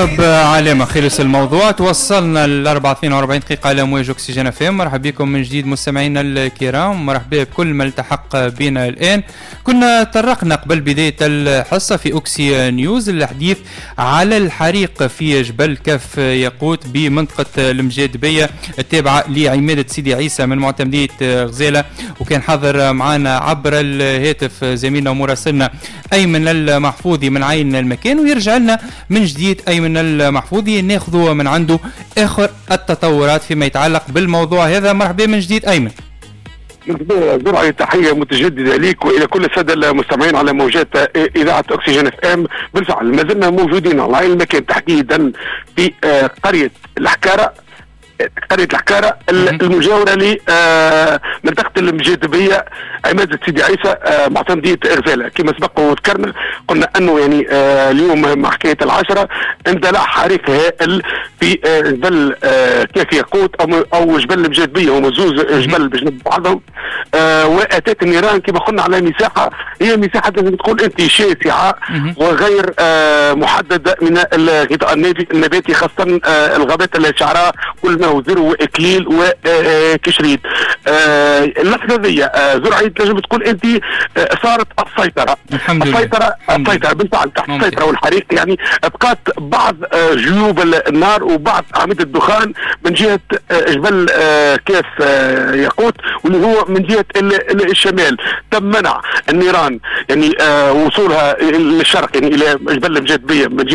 بعلامة خلص الموضوع. توصلنا ل 4:42 دقيقة على موج أكسجين FM. مرحبا بكم من جديد مستمعينا الكرام، مرحبا بكل من التحق بنا الآن. كنا طرقنا قبل بداية الحصة في أوكسي نيوز الحديث على الحريق في جبل كف ياقوت بمنطقة المجادبية التابعة لعمادة سيدي عيسى من معتمدية غزالة، وكان حاضر معنا عبر الهاتف زميلنا ومراسلنا أيمن المحفوظي من عين المكان، ويرجع لنا من جديد أيمن المحفوظي ناخذ من عنده آخر التطورات فيما يتعلق بالموضوع هذا. مرحبا من جديد أيمن. زرعي، تحية متجددة لك وإلى كل السادة المستمعين على موجات إذاعة أكسجين FM. بالفعل ما زلنا موجودين على عين المكان، تحديدا في قرية الحكارة، قرية الحكارة المجاورة لمنطقة المجادبية عمادة سيدي عيسى معتمدية غزالة. كما سبق وذكرنا قلنا أنه يعني اليوم مع حكاية 10 اندلع حريق هائل في جبل كاف ياقوت أو جبل المجادبية، هما زوز جبل بجنب بعضهم، وأتت النيران كما قلنا على مساحة، هي مساحة لازم تقول أنت شاسعة وغير محددة من الغطاء النباتي، خاصة الغابات الشعراء كل ما هو ذرو واكليل وكشريد. اللحظة ذي زرعي تنجم تقول انت صارت السيطرة. الحمد لله. السيطرة السيطرة بالفعل تحت السيطره، والحريق يعني بقات بعض جيوب النار وبعض اعمدة الدخان من جهة جبل كاف ياقوت واللي هو من جهة الشمال. تم منع النيران يعني وصولها للشرق، يعني الى جبل المجادبيه من جهة